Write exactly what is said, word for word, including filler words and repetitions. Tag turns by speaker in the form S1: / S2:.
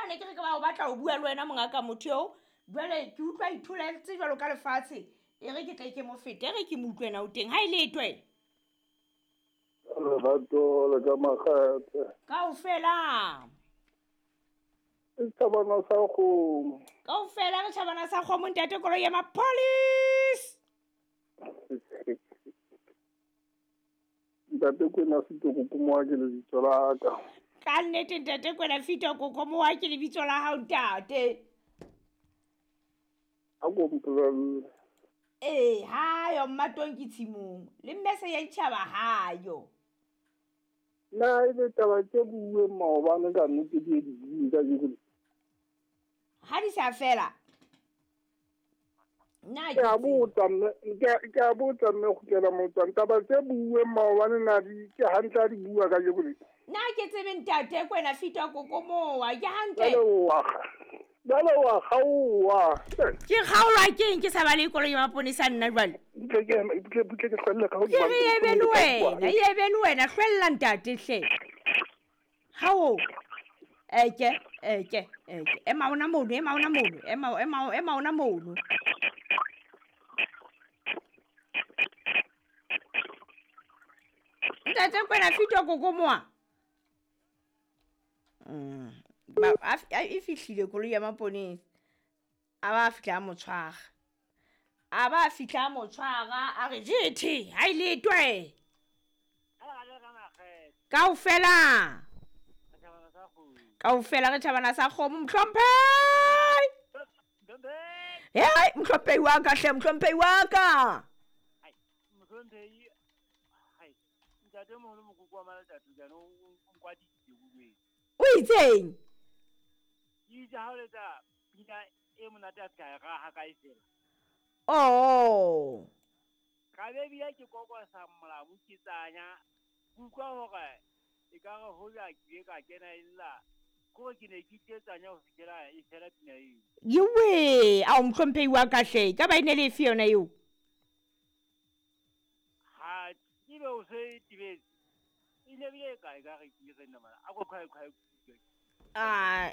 S1: ne ke re ke ba o batla ho bua le wena mongaka motho eo. Jwale ke utlwa itholetse jwalo ka lefatshe. E re ke tle ke mo fete, e re ke mo utlwe na o teng. Ha e letwe.
S2: Lerato le ka makgethe.
S1: Kaofela.
S2: E tjhabana sa kgomo.
S1: Kaofela re tjhabana sa kgomo ntate koloi ya mapolesa.
S2: Ntate Kwena Fito Kokomowa ke lebitso la ka.
S1: Ka nnete ntate Kwena Fito Kokomowa ke lebitso la hao ntate.
S2: A ko mpolelle.
S1: Ee, hayo mmatong ke tshimong. Le mme se ya itjhaba hayo.
S2: Na ebe taba tse buuweng maobane ka nnete di e di bue kajeko le?
S1: Ha di sa fela. Nna
S2: Ke a botsa mme, ke a botsa mme kgutlela motswang. Taba tse buuweng maobane na di ke hantle ha di bua kajeko le?
S1: Nna ke tsebe ntate Kwena Fito Kokomowa ke hantle.
S2: Jwale wa jwale wa kgaowa.
S1: Ke kgaolwa keng ke sa ba le koloi ya maponesa nna jwale?
S2: Butle ke butle butle ke hlwelle ka
S1: Ke re e be le wena, e be le wena hlwella ntate hle. Hao. Eke, eke, eke. Ema ona mono, ema ona mono, ema ema ema ona mono. Ntate Kwena Fito Kokomowa. Mm. Ba e fihlile koloi ya maponesa. A ba fihla a mo tshwara. A ba fihla a mo tshwara a re jethe ha e letwe. Kaofela. Kaofela re tjhabana sa kgomo mohlomphehi. Hei mohlomphehi wa ka hle mohlomphehi wa ka.
S3: Mohlomphehi hai ntate moholo mokoko wa Malatatu jana o nkwadisitse bobedi.
S1: O itseng?
S3: Itse ha o letsa pina e monate a ska ra ha kae fela.
S1: Oh.
S3: Ka be bile ke kokosa molamu ke tsanya utlwa hore e ka re hoja ke ka kena illa ko ke ne ke tsanya ho fihlela e fela pina eo.
S1: Yewe, a o mohlomphehi wa ka hle, ka ba ine le efe yona eo?
S3: Ha ebe o se tibetse. E ne bile kae ka re ke re nna mana a go khwae khwae.
S1: Ah.